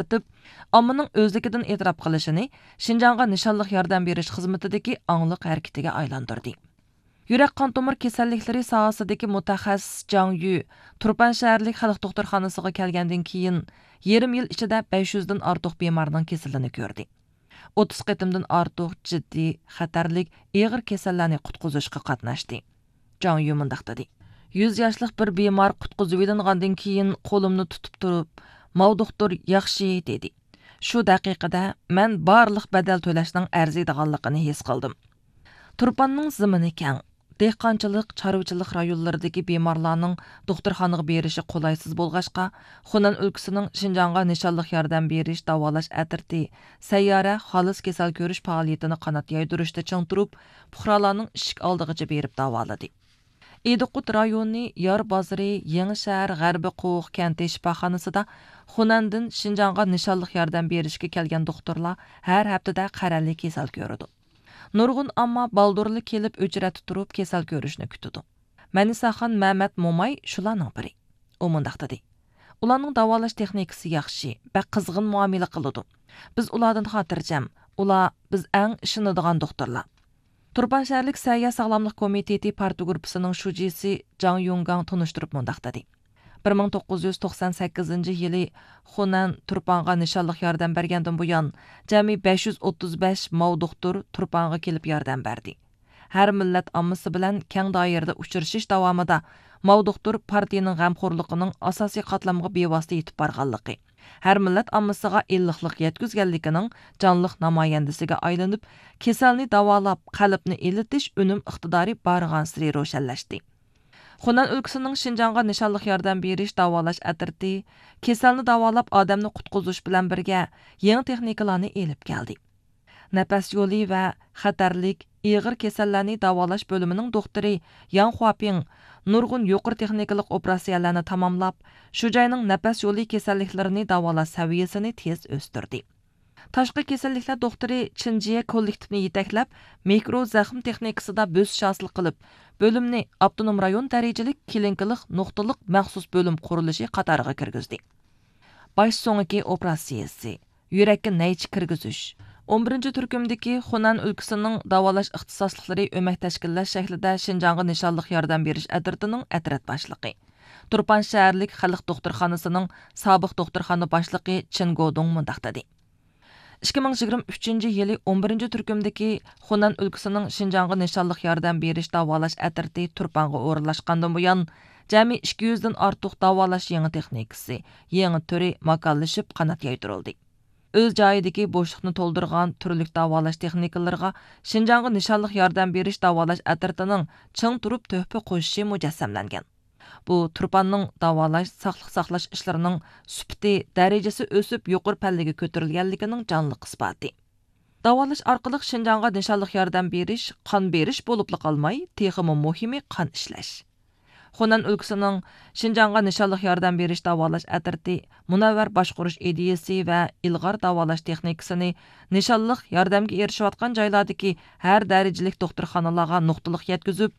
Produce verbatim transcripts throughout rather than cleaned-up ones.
ئېتىپ، ئاممىنىڭ ئۆزلۈكىدىن ئېتىراپ قىلىشىنى شىنجاڭغا نىشانلىق ياردەم بېرىش خىزمىتىدىكى ئاڭلىق ھەرىكىتىگە ئايلاندۇردى. يۈرەك قان تومۇر كېسەللىكلىرى ساھەسىدىكى مۇتەخەسسىس جاڭ يۈ تۇرپان شەھەرلىك خەلق دوختۇرخانىسىغا كەلگەندىن كېيىن، يېرىم يىل ئىچىدە بەش يۈزدىن ئارتۇق بىمارنىڭ كېسىلىنى كۆردى. ئوتتۇز قېتىمدىن ئارتۇق جىددىي، خەتەرلىك، ئېغىر كېسەللەرنى قۇتقۇزۇشقا قاتناشتى. جاڭ يۈ مۇنداق دېدى: «يۈز ياشلىق بىر بىمار قۇتقۇزۇۋېلىنغاندىن كېيىن، قولۇمنى تۇتۇپ تۇرۇپ، ماۋ دوختۇر ياخشى دېدى. شۇ دەقىقىدە مەن بارلىق بەدەل تۆلەشنىڭ ئەرزىيدىغانلىقىنى ھېس قىلدىم.» تۇرپاننىڭ زېمىنى كەڭ. دېھقانچىلىق، چارۋىچىلىق رايونلىرىدىكى بىمارلارنىڭ دوختۇرخانىغا بېرىشى قولايسىز بولغاچقا، خۇنەن ئۆلكىسىنىڭ شىنجاڭغا نىشانلىق ياردەم بېرىش داۋالاش ئەترىتى سەييارە خالىس كېسەل كۆرۈش پائالىيىتىنى قانات يايدۇرۇشتا چىڭ تۇرۇپ، پۇقرالارنىڭ ئىشىك ئالدىغىچە بېرىپ داۋالىدى. ئىدىقۇت رايونى يار بازىرى يېڭى شەھەر غەربىي قوۋۇق كەنتى شىپاخانىسىدا خۇنەندىن شىنجاڭغا نىشانلىق ياردەم بېرىشكە كەلگەن دوختۇرلار ھەر ھەپتىدە قەرەللىك كېسەل كۆرىدۇ. نۇرغۇن ئامما بالدۇرلا كېلىپ ئۆچرەتتە تۇرۇپ كېسەل كۆرۈشنى كۈتىدۇ. مەنىساخان مەمەت موماي شۇلارنىڭ بىرى. ئۇ مۇنداق دېدى: «ئۇلارنىڭ داۋالاش تېخنىكىسى ياخشى، بەك قىزغىن مۇئامىلە قىلىدۇ. بىز ئۇلاردىن خاتىرجەم. ئۇلار بىز ئەڭ ئىشىنىدىغان دوختۇرلار.» تۇرپان شەھەرلىك سەھىيە ساغلاملىق كومىتېتى پارتگۇرۇپپىسىنىڭ شۇجىسى جاڭ يۇڭگاڭ تونۇشتۇرۇپ مۇنداق دېدى: «بىر مىڭ توققۇز يۈز توقسان سەككىزىنچى يىلى خۇنەن تۇرپانغا نىشانلىق ياردەم بەرگەندىن بۇيان، جەمئىي بەش يۈز ئوتتۇز بەش ماۋ دوختۇر تۇرپانغا كېلىپ ياردەم بەردى. ھەر مىللەت ئاممىسى بىلەن كەڭ دائىرىدە ئۇچرىشىش داۋامىدا ماۋ دوختۇر پارتىيىنىڭ غەمخورلۇقىنىڭ ئاساسىي قاتلامغا بىۋاسىتە يېتىپ بارغانلىقى، ھەر مىللەت ئاممىسىغا ئىللىقلىق يەتكۈزگەنلىكىنىڭ جانلىق نامايەندىسىگە ئايلىنىپ، كېسەلنى داۋالاپ، قەلبنى ئىللىتىش ئۈنۈم ئىقتىدارى بارغانسېرى روشەنلەشتى.» خۇنەن ئۆلكىسىنىڭ شىنجاڭغا نىشانلىق ياردەم بېرىش داۋالاش ئەترىتى كېسەلنى داۋالاپ، ئادەمنى قۇتقۇزۇش بىلەن بىرگە، يېڭى تېخنىكىلارنى ئېلىپ كەلدى. نەپەس يولى ۋە خەتەرلىك، ئېغىر كېسەللەرنى داۋالاش بۆلۈمىنىڭ دوختۇرى ياڭ خۇاپىڭ نۇرغۇن يۇقىرى تېخنىكىلىق ئوپېراتسىيەلەرنى تاماملاپ، شۇ جاينىڭ نەپەس يولى كېسەللىكلىرىنى داۋالاش سەۋىيەسىنى تېز ئۆستۈردى. تاشقى كېسەللىكلەر دوختۇرى چېن جيې كوللېكتىپنى يېتەكلەپ، مىكرو زەخىم تېخنىكىسىدا بۆسۈش ھاسىل قىلىپ، بۆلۈمنى ئاپتونوم رايون دەرىجىلىك كلىنىكىلىق نۇقتىلىق مەخسۇس بۆلۈم قۇرۇلۇشى قاتارىغا كىرگۈزدى. باش سۆڭىكى ئوپېراتسىيىسى، يۈرەككە نەيچە كىرگۈزۈش. ئون بىرىنچى تۈركۈمدىكى خۇنەن ئۆلكىسىنىڭ داۋالاش ئىختىساسلىقلىرى ئۆمەك تەشكىللەش شەكلىدە شىنجاڭغا نىشانلىق ياردەم بېرىش ئەترىتىنىڭ ئەترەت باشلىقى، تۇرپان شەھەرلىك خەلق دوختۇرخانىسىنىڭ سابىق دوختۇرخانا باشلىقى چېن گودۇڭ مۇنداق دېدى: «ئىككى مىڭ يىگىرمە ئۈچىنچى يىلى ئون بىرىنچى تۈركۈمدىكى خۇنەن ئۆلكىسىنىڭ شىنجاڭغا نىشانلىق ياردەم بېرىش داۋالاش ئەترىتى تۇرپانغا ئورۇنلاشقاندىن بۇيان، جەمئىي ئىككى يۈزدىن ئارتۇق داۋالاش يېڭى تېخنىكىسى، يېڭى تۈرى ماكانلىشىپ قانات يايدۇرۇلدى. ئۆز جايىدىكى بوشلۇقنى تولدۇرغان تۈرلۈك داۋالاش تېخنىكىلىرىغا شىنجاڭغا نىشانلىق ياردەم بېرىش داۋالاش ئەترىتىنىڭ چىڭ تۇرۇپ تۆھپە قوشۇشى مۇجەسسەملەنگەن. بۇ تۇرپاننىڭ داۋالاش، ساقلىق ساقلاش ئىشلىرىنىڭ سۈپىتى، دەرىجىسى ئۆسۈپ، يۇقىرى پەللىگە كۆتۈرۈلگەنلىكىنىڭ جانلىق ئىسپاتى. داۋالاش ئارقىلىق شىنجاڭغا نىشانلىق ياردەم بېرىش قان بېرىش بولۇپلا قالماي، تېخىمۇ مۇھىمى قان ئىشلەش.» خۇنەن ئۆلكىسىنىڭ شىنجاڭغا نىشانلىق ياردەم بېرىش داۋالاش ئەترىتى مۇنەۋۋەر باشقۇرۇش ئىدىيىسى ۋە ئىلغار داۋالاش تېخنىكىسىنى نىشانلىق ياردەمگە ئېرىشىۋاتقان جايلاردىكى ھەر دەرىجىلىك دوختۇرخانىلارغا نۇقتىلىق يەتكۈزۈپ،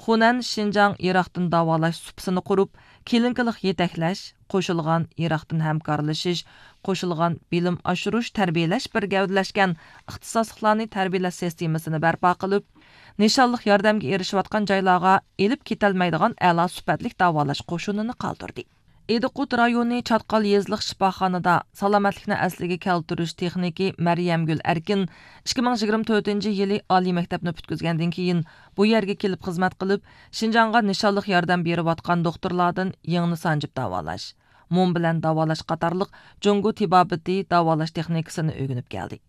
خۇنەن شىنجاڭ ئىراقتىن داۋالاش سۇپىسىنى قۇرۇپ، كلىنىكىلىق يېتەكلەش، قوشۇلغان ئىراقتىن ھەمكارلىشىش، قوشۇلغان بىلىم ئاشۇرۇش، تەربىيەلەش بىر گەۋدىلەشكەن ئىختىساسلىقلارنى تەربىيەلەش سىستېمىسىنى بەرپا قىلىپ، نىشانلىق ياردەمگە ئېرىشىۋاتقان جايلارغا ئېلىپ كېتەلمەيدىغان ئەلا سۈپەتلىك داۋالاش قوشۇنىنى قالدۇردى. ئىدىقۇت رايونى چاتقال يېزىلىق شىپاخانىدا سالامەتلىكنى ئەسلىگە كەلتۈرۈش تېخنىكى مەريەمگۈل ئەركىن ئىككى مىڭ يىگىرمە تۆتىنچى يىلى ئالىي مەكتەپنى پۈتكۈزگەندىن كېيىن، بۇ يەرگە كېلىپ خىزمەت قىلىپ، شىنجاڭغا نىشانلىق ياردەم بېرىۋاتقان دوختۇرلاردىن يىڭنە سانجىپ داۋالاش، موم بىلەن داۋالاش قاتارلىق جۇڭگو تېبابىتى داۋالاش تېخنىكىسىنى ئۆگىنىپ كەلدى.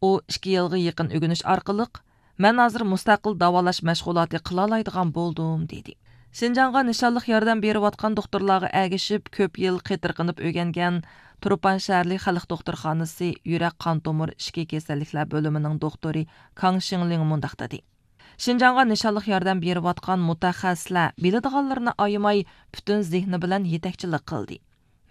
ئۇ ئىككى يىلغا يېقىن ئۆگىنىش ئارقىلىق، «مەن ھازىر مۇستەقىل داۋالاش مەشغۇلاتى قىلالايدىغان بولدۇم» دېدى. شىنجاڭغا نىشانلىق ياردەم بېرىۋاتقان دوختۇرلارغا ئەگىشىپ، كۆپ يىل قېتىرقىنىپ ئۆگەنگەن تۇرپان شەھەرلىك خەلق دوختۇرخانىسى يۈرەك قان تومۇر ئىچكى كېسەللىكلەر بۆلۈمىنىڭ دوختۇرى كاڭ شىڭلىڭ مۇنداق دېدى: «شىنجاڭغا نىشانلىق ياردەم بېرىۋاتقان مۇتەخەسسىسلەر بىلىدىغانلىرىنى ئايىماي، پۈتۈن زېھنى بىلەن يېتەكچىلىك قىلدى.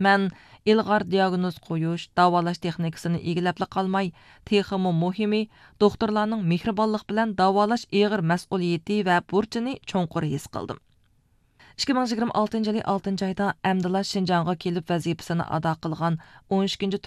مەن ئىلغار دىياگنوز قويۇش، داۋالاش تېخنىكىسىنى ئىگىلەپلا قالماي، تېخىمۇ مۇھىمى، دوختۇرلارنىڭ مېھرىبانلىق بىلەن داۋالاش ئېغىر مەسئۇلىيىتى ۋە بۇرچىنى چوڭقۇر ھېس قىلدىم.» ئىككى مىڭ يىگىرمە ئالتىنچى يىلى ئالتىنچى ئايدا ئەمدىلا شىنجاڭغا كېلىپ ۋەزىپىسىنى ئادا قىلغان ئون ئىككىنچى